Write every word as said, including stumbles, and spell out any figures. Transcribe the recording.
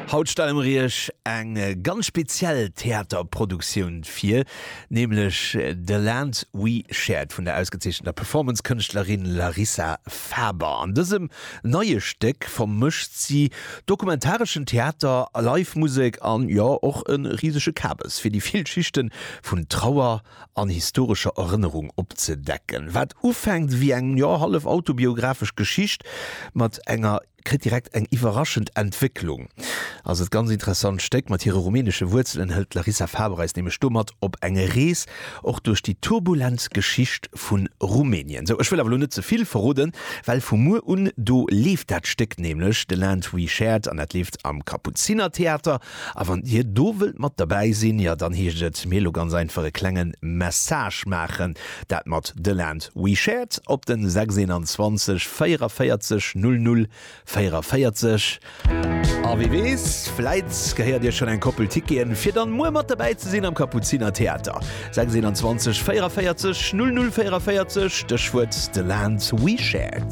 Haut stelle mer iech eng ganz speziell Theaterproduktioun vir, nämlech The Land We Shared vun der ausgezeechenter Performance-Kënschtlerin Larissa Faber. An dësem neie Stéck vermëscht si dokumentareschen Theater, Live-Musek an, jo, och e risege Kabes, fir déi vill Schichte vun Trauer an historescher Erënnerung opzedecken. Wat ufänkt wéi eng, jo, hallef autobiographesch Geschicht mat enger kritt direkt eng iwwerraschend Entwécklung. Also et ganz interessant Stéck. Mat hire rumänesche Wuerzelen hëlt d'Larissa Faber eis nämlech do mat op eng Rees och duerch déi turbulent Geschicht vu Rumänien. Sou, ech wëll awer elo net ze vill verroden, well vu muer un do leeft dat Stéck nämlech, The Land We Shared, an dat leeft am Kapuzinertheater. A wann dir do wëllt mat derbäi sinn, jo dann heescht et mir elo ganz einfach e klenge Message maachen, dat mat The Land We Shared op den sechs einundzwanzeg véierunvéierzeg null null véierunvéierzeg. A wie weess, vläit gehéiert Iech schonn eng Koppel Ticketen, fir dann muer mat derbäi ze sinn am Kapuzinertheater. sechs einundzwanzeg véierunvéierzeg null null véierunvéierzeg, Stéchwuert The Land We Shared.